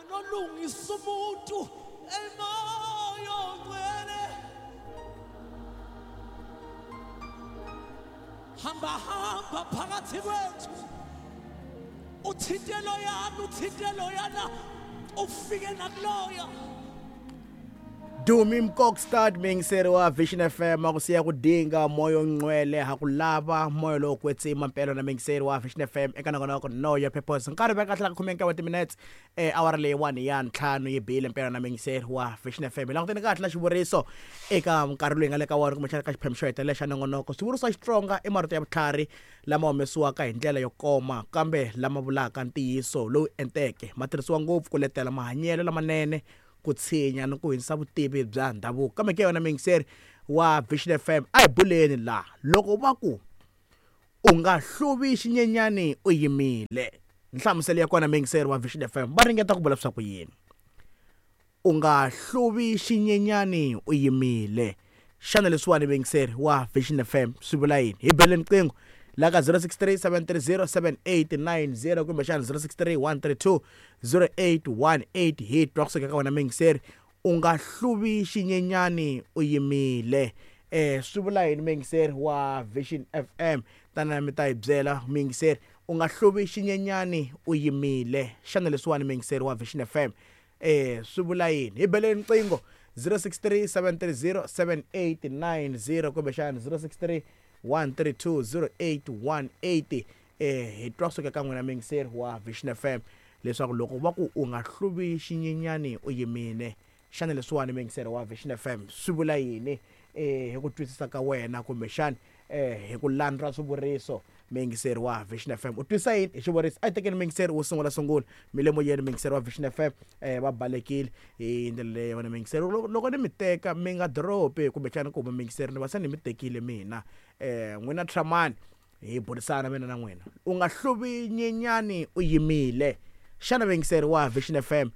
Nolungisa umuntu emoya ongcwele. Hamba hamba phakathi kwethu, uthinte loyana, uthinte loyana, ufike nakuloya. Dumi Mkokstad, muyingiseri wa Vision FM, a ku siya ku dinga moya ongcwele, ha ku lava moya lowo kwetsima mpela na muyingiseri wa Vision FM eka nongonoko Know Your Purpose. Nkarhi veka tlhela ka 15 wa timinetse, awara leyiwani ya 5 yi bile mpela na muyingiseri wa Vision FM. Hi languteni kahle na xivuriso eka nkarhi lowu hi nga le ka wona, kumbexana ka xiphemu xo hetelela xa nongonoko. Swivuriso swa Xitsonga i marito ya vutlhari lama humesiwaka hi ndlela yo koma kambe lama vulaka ntiyiso lowu enteke. Ma tirhisiwa ngopfu ku letela mahanyelo lamanene, ku tshinya ni ku hundzisa vutivi bya ndhavuko. Kambe ke yona muyingiseri wa Vision FM, a hi buleni laha loko va ku u nga hluvi xinyenyani u yimile. Nhlamuselo ya kona muyingiseri wa Vision FM, va ringeta ku vula leswaku yini? U nga hluvi xinyenyani u yimile. Xana leswiwani muyingiseri wa Vision FM swi vula yini? Hi bele riqingho la ka 063 730 7890 kumbexana 063 132 0818. Hi twa kusuka ka wena muyingiseri, u nga hluvi xinyenyani u yimile. Swi vula yini muyingiseri wa Vision FM? Tana mi ta hi byela muyingiseri, u nga hluvi xinyenyani u yimile. Xana leswiwani muyingiseri wa Vision FM swi vula yini? Hi beleni riqingho 063 730 7890 kumbexana 063 132 0818. Hi twa kusuka ka n'wina muyingiseri wa Vision FM leswaku loko va ku u nga hluvi xinyenyani u yimile, xana leswiwani muyingiseri wa Vision FM swi vula yini hi ku twisisa ka wena, kumbexana hi ku landza swivuriso? Muyingiseri wa Vision FM, u twisisa yini hi xivuriso? A hi tekeni muyingiseri wo sungula sungula mi le moyeni. Muyingiseri wa Vision FM, va balekile hi ndlela leyi wena muyingiseri. Loko ni mi teka mi nga dropi kumbexana ku huma muyingiseri, ni va se ni mi tekile mina. N'wina Tramani, hi burisana mina na n'wina. U nga hluvi nyenyani u yimile. Xana muyingiseri wa Vision FM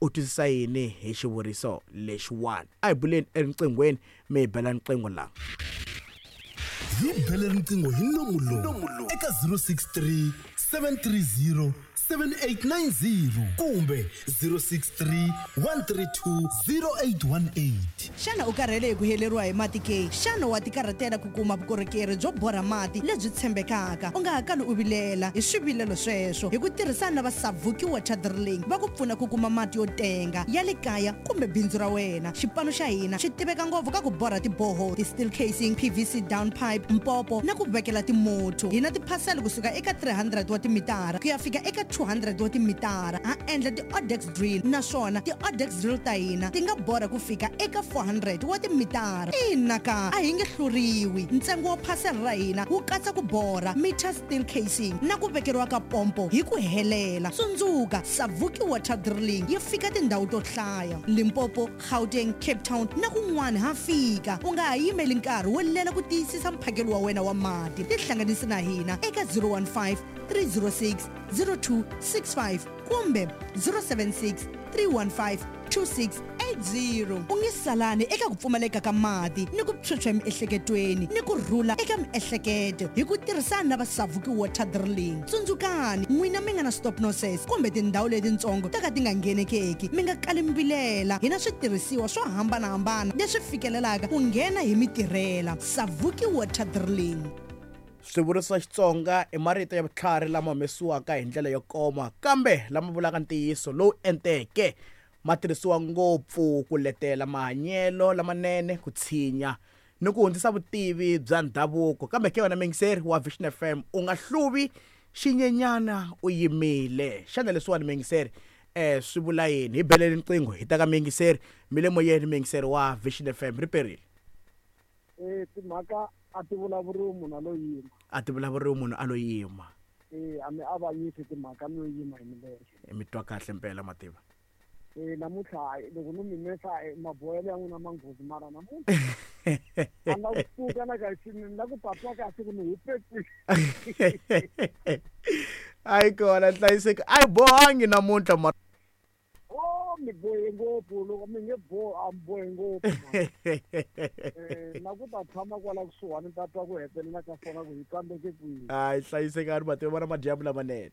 u twisisa yini hi xivuriso lexiwani? A hi buleni eriqinghweni, mi hi bela riqingho laha. Hi bele riqingho hi nomu lowu eka 063 730 7890 kumbe 063 132 0818. Xana u karhele hi ku heleriwa hi mati ke? Xana wa tikarhatela ku kuma vukorhokeri byo borha mati lebyi tshembekaka? U nga ha kali u vilela hi swivilelo sweswo. Hi ku tirhisana na va Savuki Water Drilling, va ku pfuna ku kuma mati yo tenga ya le kaya kumbe bindzu ra wena. Xipano xa hina xi tiveka ngopfu ka ku borha tiboho, ti-steel casing, PVC down pipe, mpopo na ku vekela timotho. Hi na tiphasela kusuka eka 300 wa timitara ku ya fika eka 200 wa timitara. Ha endla ti-Odex drill, naswona ti-Odex drill ta hina ti nga borha ku fika eka 400 wa timitara. Ina ka, a hi nge hluriwi. Ntsengo wa phasela ra hina wu katsa ku borha, meter steel casing na ku vekeriwa ka pompo hi ku helela. Tsundzuka, Savuki Water Drilling yi fika tindhawu to hlaya, Limpopo, Gauteng, Cape Town na kun'wana ha fika. U nga ha yimeli nkarhi wo lela ku tiyisisa mphakelo wa wena wa mati. Tihlanganisi na hina eka 015 306 0265 kumbe 076 315 2680. U nge salani eka ku pfumaleka ka mati ni ku phyuphya emiehleketweni ni ku rhula eka miehleketo hi ku tirhisana na va Savuki Water Drilling. Tsundzukani, n'wina mi nga na stop nonsense kumbe tindhawu letitsongo to ka ti nga nghenekeki, mi nga kali mi vilela. Hi na switirhisiwa swo hambanahambana leswi fikelelaka ku nghena hi mitirhela. Savuki Water Drilling. Swivuriso swa Xitsonga i marito ya vutlhari lama humesiwaka hi ndlela yo koma kambe lama vulaka ntiyiso lowu enteke. Ma tirhisiwa ngopfu ku letela mahanyelo lamanene, ku tshinya ni ku hundzisa vutivi bya ndhavuko. Kambe ke wena muyingiseri wa Vision FM, u nga hluvi xinyenyana u yimile. Xana leswiwani muyingiseri swi vula yini? Hi beleni riqingho hi ta ka muyingiseri. Mi le moyeni muyingiseri wa Vision FM, ri perile. Timhaka a ti vulavuriwi munhu a lo yima. A ti vulavuriwi munhu a lo yima. A mi avanyisi timhaka mi yo yima hi milenge. Mi twa kahle mpela mativa. Namuntlha loko no mi mesa maboyelo ya n'wina manghozi, mara namuntlha a nga kusuka na ka xini na ku tatwa kahle ku ni hupe kwihi. Ayi kona hlayiseki, a yi bohangi namuntlha mara. Oh, mi bohe ngopfu, loko mi nge bohi a mi bohe ngopfu. Na ku ta tshama kwala kusuhani ta twa ku hetelela ka swona ku hi tsandzeke kwihi. Hayi hlayisekani mativa, vona madyambu lamanene.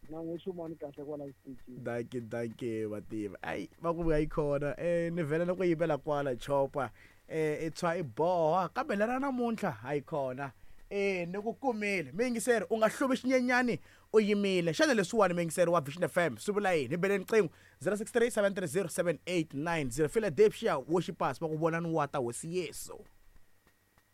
Na n'wi xumani kahle kwala xitichini. Dankie, dankie vativa. Ayi, va ku vuya yi khona. Ni vhela na ku yimela kwala chopa. I tshwa i boha kambe lera namuntlha a yi khona. Ni ku kumile. Miyingiseri u nga hluvi xinyenyani u yimile. Xana leswiwani miyingiseri wa Vision FM swi vula yini? Hi beleni riqingho 063 730 7890 Philadelphia Worshipers va ku vonani wa ta Hosi Yesu.